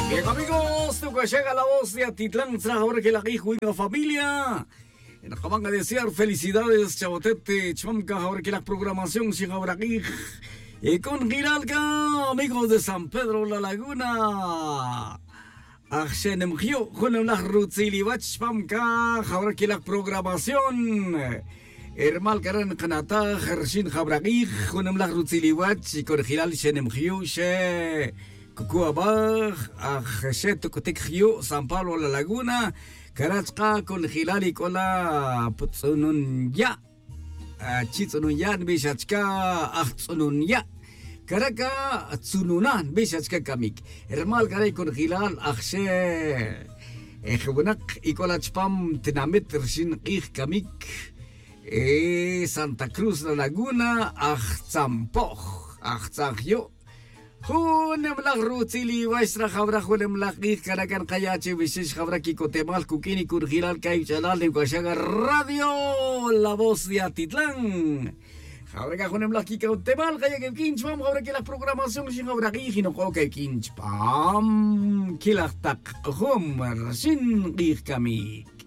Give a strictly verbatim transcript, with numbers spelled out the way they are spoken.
Bien, amigos, tu caxaga la voz de atitlan tzraj ahora que la guij win familia. Nakaban a desear felicidades chabotet, chmam ca ahora que la programación sin ahora guij. Y con giralca, amigos de San Pedro la Laguna. Aj xenem jyu' junem laj rutzil iwach chpam ca jawra quilaj programación. Hermal cara' nkanataj rxin jawra q'ij junem laj rutzil iwach y conjelal xenem jyu' xe cucu abaj. Aj xe tuc'utic jyu' san pablo la laguna. Cara' chka' conjelal y c'ola putz'unun ya'. Chitz'unun ya' nbix achca. Aj tz'unun ya'. Caraca tzununa nbix achca camic. Rmal cara' y conjelal aj xe je winak y c'ola chpam tinamit rxin k'ij camic. Santa cruz la laguna aj tzampo'j. Aj tzaj yu'. Junem laj rutzil iwax rajawra junem laj k'ij caraca nkaya' che wixix jawra quicotemal cuq'uin y conjelal cay uch'alal nim c'axaga radio la voz de atitlan. Jawra ca junem laj quicotemal kaya' cawq'uin chpam jawra quilaj programación xin jawra k'ij y nok'o cawq'uin chpam quilaj tak jum rxin k'ij camic.